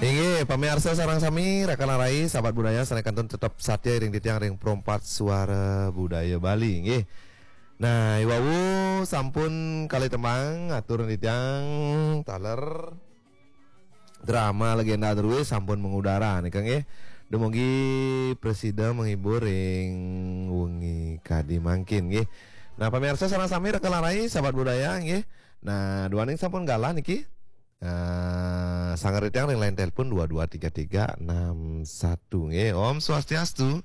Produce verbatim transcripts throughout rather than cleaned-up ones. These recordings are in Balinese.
Inggih, pamiarsa sareng sami, raka lan rai, sahabat budaya, sané kantun tetep satya iring titiang ring Pro empat Suara Budaya Bali, inggih. Nah, i wau sampun kalih tembang, atur titiang taler drama legenda drué sampun mengudara nika nggih. Dumugi prasida menghibur ring wengi kadi mangkin nggih. Nah, pamiarsa sareng sami, raka lan rai, sahabat budaya nggih. Nah, duaning sampun galah niki. Eh, sanggra titiang ring line telepon dua dua tiga tiga enam satu nggih. Om Swastiastu.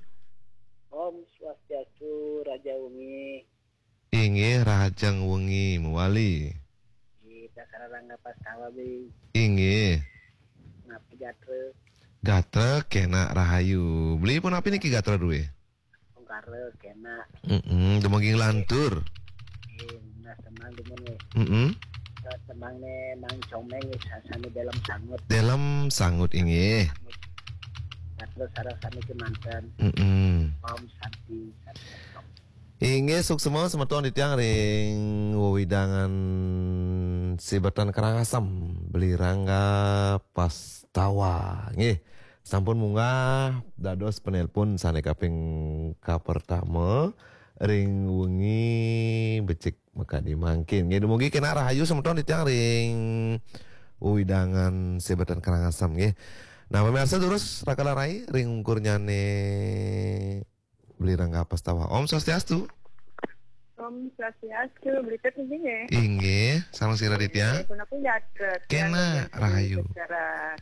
Om Swastiastu, Raja Wengi. Inggih, Rahajeng Wengi mawali. Kita sararangga pastawa, Bi. Inggih. Napi gatra? Gatra kénak rahayu. Beli punapi niki gatra drué? Ungkara kénak. Mm-mm, dumugi nglantur. Eh, nah, tembang dumun, eh. Mm-mm. Tembang né Mang Comeng, eh, sa-, sami Delem Sangut. Delem Sangut, inggih. Nah, terus sareng sami kémanten. Mm-mm. Om Santi, Santi. Inggih, suksma semeton titiang ring wewidangan Sibetan Karangasem, Beli Rangga Pastawa. Nggih, sampun munggah dados penelpon sané kaping kapertama ring wengi becik makadi mangkin. Nggih, dumugi kénak rahayu semeton titiang ring wewidangan Sibetan Karangasem, nggih. Nah, pamiarsa durus raka lan rai ring ungkurnyané Beli Rangga Pastawa. Om Swastiastu. Om Swastiastu, Beli Tut nggih. Inggih, sareng sira titiang. Inggih, punapi gatra? Kénak, rahayu. Secara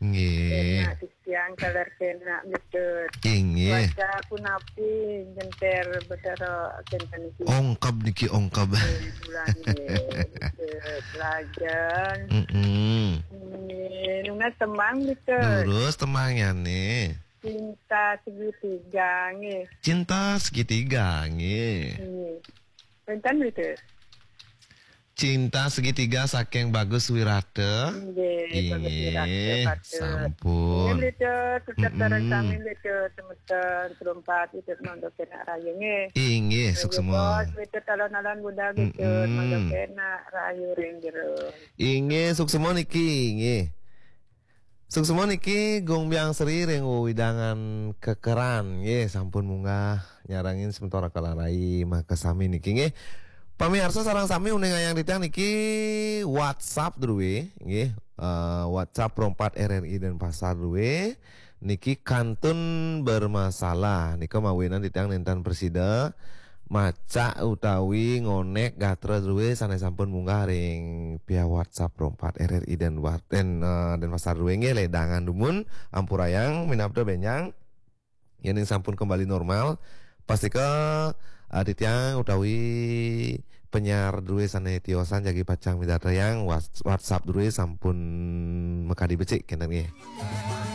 nggih. Kénak titiang, taler kénak, Beli Tut. Inggih. Cuaca punapi, jenter Betara kénten niki? Ongkeb niki, ongkeb. Nggih, bulan nggih, Beli Tut. Lajeng. Mm-mm. Nggih, nunas tembang, Beli Tut. Durus tembangnyané. Cinta Segitiga, nggih. Cinta Segitiga, nggih. Nggih. Wénten, Beli Tut? Cinta Segitiga saking Bagus Wirata. Nggih, Bagus Wirata, inggih, Pak Tut. Sampun. Nggih, Beli Tut, tetep sareng sami, Beli Tut, semeton, Pro empat, Beli Tut, mangda kénak rahayu, nggih. Inggih, suksma. Bos, Beli Tut, alon-alon budal, Beli Tut, mangda kénak rahayu ring jero. Inggih, suksma niki, nggih. Suksma niki Gung Biang Sri ring wewidangan Kekeran nggih, sampun munggah nyarengin semeton raka lan rai makasami niki nggih. Pamiarsa sareng sami uningayang titiang niki WhatsApp drué nggih. Eh, WhatsApp Pro empat R R I Denpasar drué niki kantun bermasalah. Nika mawinan titiang nénten prasida macak utawi ngonék gatra drué sané sampun munggah ring pihak WhatsApp Pro empat R R I Denpasar, Den, eh, Denpasar drué nggih, ledangan dumun, ampurayang, minabda bénjang. Yéning sampun kembali normal, pastika, eh, titiang utawi penyiar drué sané tiosan jagi pacang midartayang Whats-, WhatsApp drué sampun makadi becik kénten nggih.